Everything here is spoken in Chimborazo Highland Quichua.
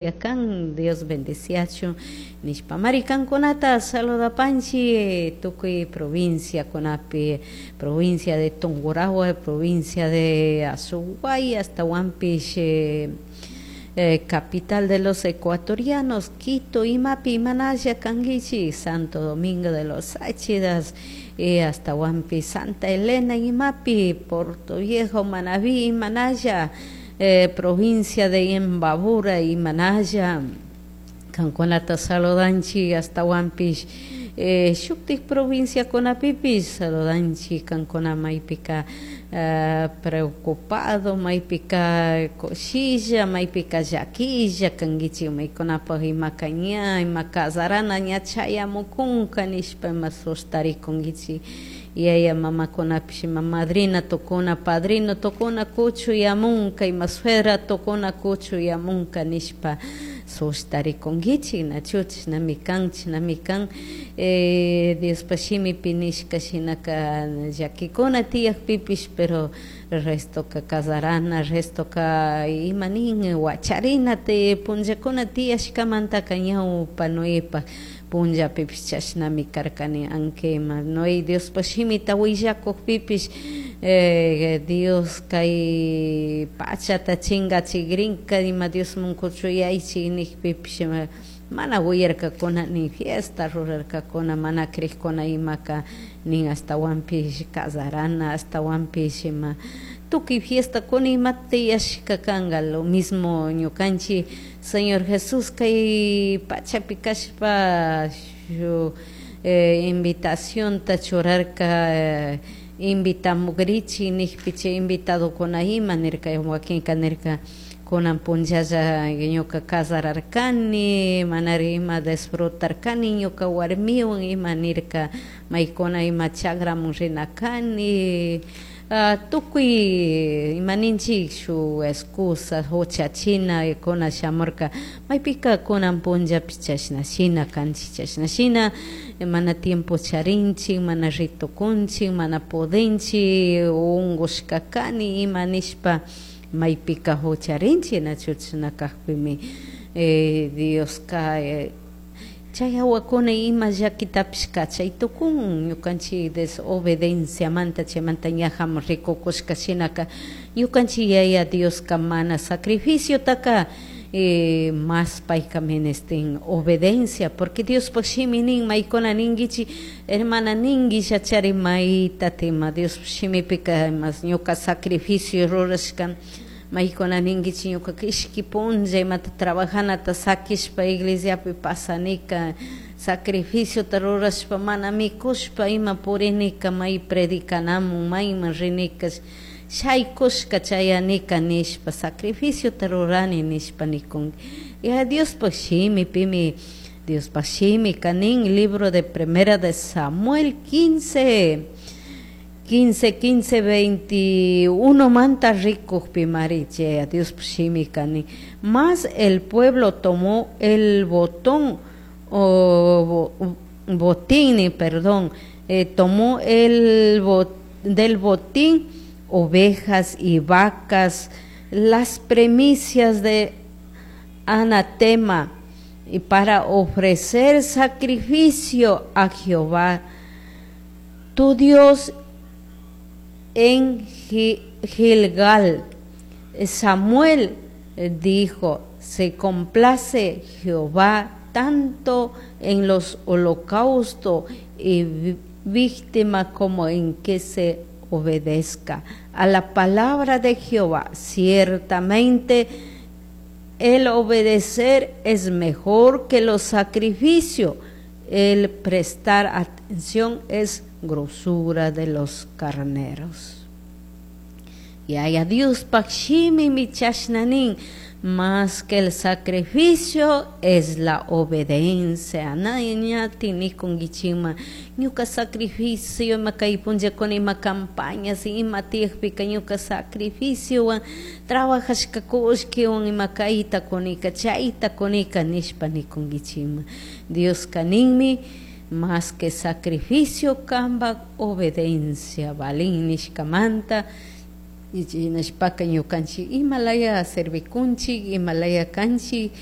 Kan Dios bendeciachun nishpamari kankunata saludapanchi tukuy provinciakunapi, provincia de Tungurahua, provincia de Azuguay, hasta Huampish, capital de los ecuatorianos, Quito, imapi imanalla kankichik, Santo Domingo de los Tsáchilas, hasta Huampi, Santa Elena, imapi, Portoviejo, Manabí, imanalla, provincia de Imbabura, imanalla, kankunata saludanchik, hasta Huampish, shuktik provinciakunapipish saludanchik, kankuna maypika preocupado, maypika kushilla, maypika llaquilla kankichik, maykunapuk imaka ña ima casarana ña chayamukunka nishpa ima sustarikunkichik, yaya mamakunapish ima madrina tukuna, padrino tukuna kuchuyamunka, ima suegra tukuna kuchuyamunka nishpa sustarikunkichik, nachu chishnami kan, chishnami kan. Diospa shimipi nishka shinaka llakikuna tiyakpipish, pero restoka casarana, restoka ima nin wacharina punllakuna tiyashkamantaka ñawpa Noepak punllapipish chashnami karkani, aunque ima Noé Diospa shimita willakukpipish, Dios kay pachata chingachikrinka ima Diosman kuchuyaychik nikpipish mana uyarkakuna, ni fiesta rurarkakuna, mana crikuna imaka nin ashtawanpish casarana, ashtawanpish ima tukuy fiestakuna ima tiyashka kanka. Lo mismo ñukanchik Señor Jesús kay pachapi kashpa shuk invitacionta churarka, invitamukrichik nikpi, chay invitadokuna ima nirka, wakinka nirka kunan punllalla ñuka casararkani, manari ima disfrutarkani ñuka warmiwan, ima nirka, maykuna ima chagramun rina kani, tukuy ima ninchik shuk excusa huchachina kuna shamurka. Maypika kunan punllapish chashna shina kanchik, chashna shina mana tiempo charinchik, mana ritukunchik, mana pudinchik, ungushka kani ima nishpa maypika hucharinchik, nachu chashna kakpimi Dioska chay hawakuna ima llakitapish kachay tukun ñukanchik desobedienciamanta. Chaymanta ñajamun rikukushka shinaka ñukanchik Yaya Dioska mana sacrificiotaka mas payka menester obediencia, porque Diospaj shimi nin, maykuna ninkichik, hermana, ninguillachari mayta ima Diospaj shimipika mas ñuka sacrificio rurashka. Maykuna ninkichik, ñukaka ishki punlla imata trabajanata sakishpa iglesiapi pasanika, sacrificiota rurashpa mana mikushpa ima purinika, may predicanamun mayman rinika, shaykushka chayanika nishpa sacrificiota rurani nishpa nikunki. Ya Diospaj shimipimi, Diospaj shimika nin, libro de Primera de Samuel 15, 15, 15, 21 manta rikukpimari chay Diospaj shimika nin: "Mas el pueblo tomó el botón o botín, perdón, tomó el del botín ovejas y vacas, las primicias de anatema, y para ofrecer sacrificio a Jehová tu Dios en Gilgal". Samuel dijo: "Se complace Jehová tanto en los holocaustos y víctimas como en que se obedezca a la palabra de Jehová. Ciertamente el obedecer es mejor que los sacrificios, el prestar atención es grosura de los carneros". Yaya Diospaj shimimi chashna nin: más que el sacrificio es la obediencia. Ñati nikunkichikman, ñuka sacrificio ima kay punllakuna ima campañas ima tiyakpika ñuka sacrificiowan trabajashka kullkiwan ima kayta kunika, chayta kunika nishpa nikunkichikman. Dioska ninmi, más que sacrificio kanpak obediencia valin nishkamanta. Nishpaka ñukanchik imalaya servikunchik, imalaya kanchik.